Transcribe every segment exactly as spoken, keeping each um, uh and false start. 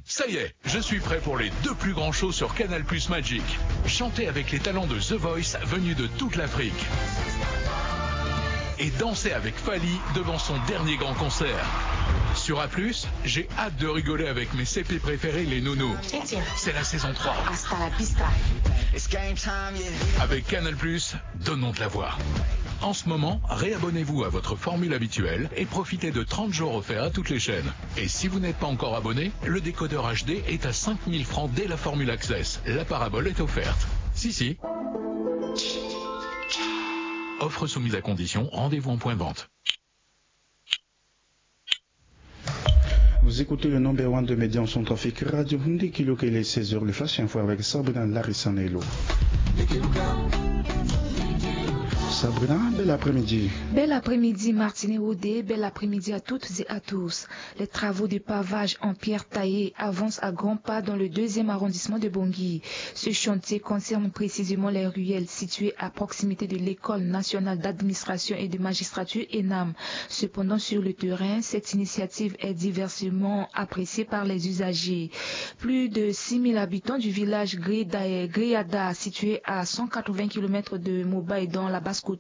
Ça y est, je suis prêt pour les deux plus grands shows sur Canal Plus Magic. Chantez avec les talents de The Voice venus de toute l'Afrique. Et dansez avec Fally devant son dernier grand concert. Sur A plus, j'ai hâte de rigoler avec mes C P préférés, les Nounous. C'est la saison trois. Avec Canal Plus, donnons de la voix. En ce moment, réabonnez-vous à votre formule habituelle et profitez de trente jours offerts à toutes les chaînes. Et si vous n'êtes pas encore abonné, le décodeur H D est à cinq mille francs dès la formule Access. La parabole est offerte. Si, si. Offre soumise à condition, rendez-vous en point de vente. Vous écoutez le number one de médias en Centrafrique, Radio Hundi Kilokele, seize heures, le Flash Info avec Sabrina Larissanello. Sabrina, bel après-midi. Bel après-midi, Martine Rodé, bel après-midi à toutes et à tous. Les travaux de pavage en pierre taillée avancent à grands pas dans le deuxième arrondissement de Bangui. Ce chantier concerne précisément les ruelles situées à proximité de l'École nationale d'administration et de magistrature, ENAM. Cependant, sur le terrain, cette initiative est diversement appréciée par les usagers. Plus de six mille habitants du village Greda-, Greyada, situé à cent quatre-vingts kilomètres de Mobaye dans la Basse-Koto,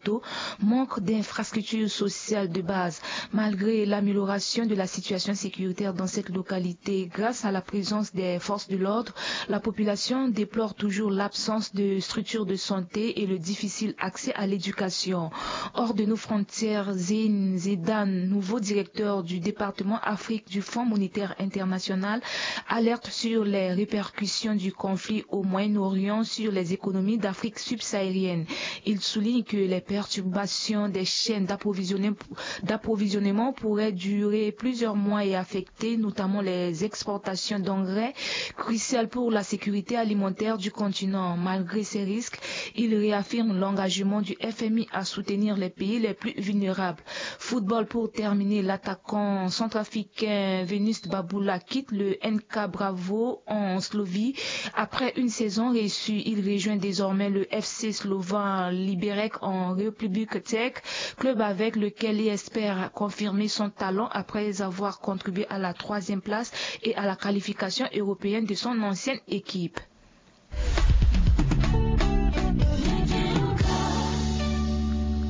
manquent d'infrastructures sociales de base. Malgré l'amélioration de la situation sécuritaire dans cette localité, grâce à la présence des forces de l'ordre, la population déplore toujours l'absence de structures de santé et le difficile accès à l'éducation. Hors de nos frontières, Zein Zedan, nouveau directeur du département Afrique du Fonds monétaire international, alerte sur les répercussions du conflit au Moyen-Orient sur les économies d'Afrique subsaharienne. Il souligne que les perturbations des chaînes d'approvisionnement d'approvisionnement pourraient durer plusieurs mois et affecter notamment les exportations d'engrais, cruciales pour la sécurité alimentaire du continent. Malgré ces risques, il réaffirme l'engagement du F M I à soutenir les pays les plus vulnérables. Football pour terminer, l'attaquant centrafricain Venus Babula quitte le N K Bravo en Slovie. Après une saison réussie, il rejoint désormais le F C slovène Liberec en République tchèque, club avec lequel il espère confirmer son talent après avoir contribué à la troisième place et à la qualification européenne de son ancienne équipe.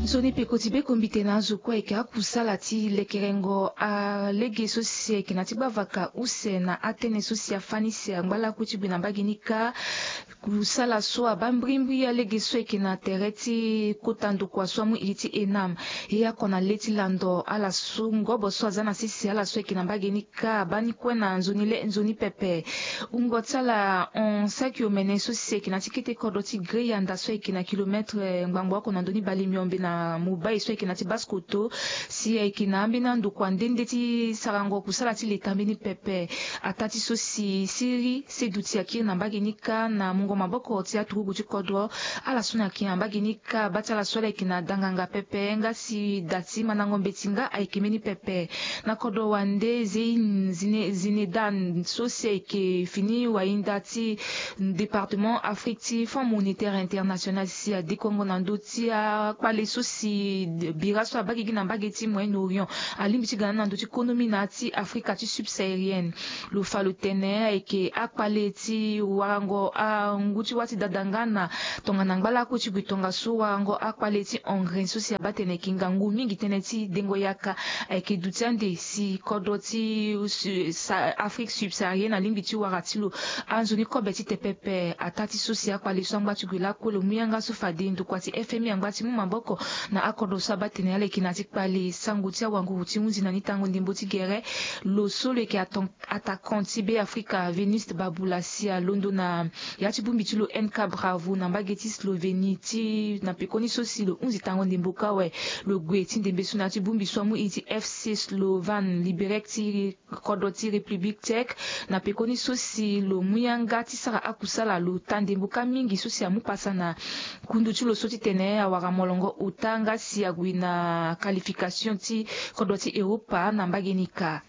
Nzoni peko ti be kombite na azo kue ayeke akusala ti lekerengo alege so si ayeke na ti gbavaka use na atënë so si afani si angba lakue ti gue na mbage ni kâ. Kusala so abaa mbrimbri alege so ayeke na tere ti kota ndokua so amu iri ti ENAM. E oko na le ti lando ala so ngobo so aza na sese ala so ayeke na mbage ni kâ abaa ni kue na nzoni le nzoni pepe. Wungo ti ala hon saki omene so si ayeke na ti kete kodro ti Greyanda so ayeke na kilometre ngbangbo oko na ndoni bale miombe na Mobaye so ayeke na ti Basse-Koto. Si ayeke na ambeni andokua nde nde ti sarango kusala ti leta mbeni pepe. Ataa ti so si siriri se duti akiri na mbage ni kâ na mungo maboko ti aturugu ti kodro. Ala so na yeke na mbage ni kâ abaa ti ala so ala yeke na danganga pepe nga si da ti mandango mbeti nga ayeke mbeni pepe. Na kodro wande Zein Zine- Zinedan so si ayeke fini wahinda ti département Afrique ti Fonds monétaire international si adekongo na ndö ti akpale so si bira so abaa gigi na mbage ti Moyen-Orient alingbi ti ga na ndö ti konomi na ya ti Afrika ti subsaharienne. Lo fa lo tene ayeke akpale ti warango angu ti wâ ti dada nga na tongana ngba lakue ti gue tongaso warango akpale ti engrais so si abaa tene ayeke ngangu mingi tënë ti dengo yaka. Ayeke duti ande si kodro ti Afrique subsaharienne alingbi ti wara ti lo anzoni kobe ti te pepe. Ataa ti so si akpale so angba ti gue lakue lo mu yanga so fade ndokua ti F M I angba ti mu maboko na akodro so abaa tene ala yeke na ya ti kpale sango ti awanguru ti hunzi na ni tango ndembo ti gere. Lo so lo yeke attaquant ti Beafrika Venus Babula si alondo na ya ti bongbi ti lo N K Bravo na mbage ti Slovénie ti na pekoni so si lo hunzi tango ndembo kâ awe. Lo gue ti ndembe so na ya ti bongbi so amu iri ti F C Slovan Liberec ti kodro ti République Tchèque. Na pekoni so si lo mu yanga ti sara akusala lo taa ndembo kâ mingi so si amu pasa na kundu ti lo so ti tene awara molongo ota nga si ague na qualification ti kodro ti Europa na mbage ni kâ.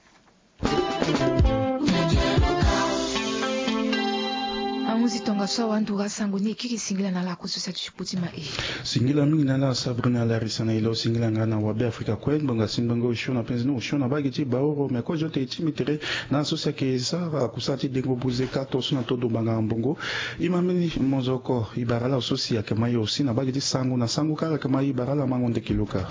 Ahuzi tongaso So awa ndura sango ni ekiri singila na ala akoso sa ti ti kputi ma e. Singila mingi na ala Sabrina Larisa na ilo singila nga na wabe Afrika kue ngbanga si ngbanga osio na penzi ni osio na bagi ti baoro me kozo te ti mi tere. Na so si ake sara kusa ti dengo buze ka to so na todo banga mbongo. Ima mini mozoko ibara la so si ake ma yo si na bagi ti sango na sango kala ake ma ibara la mango ndeki luka.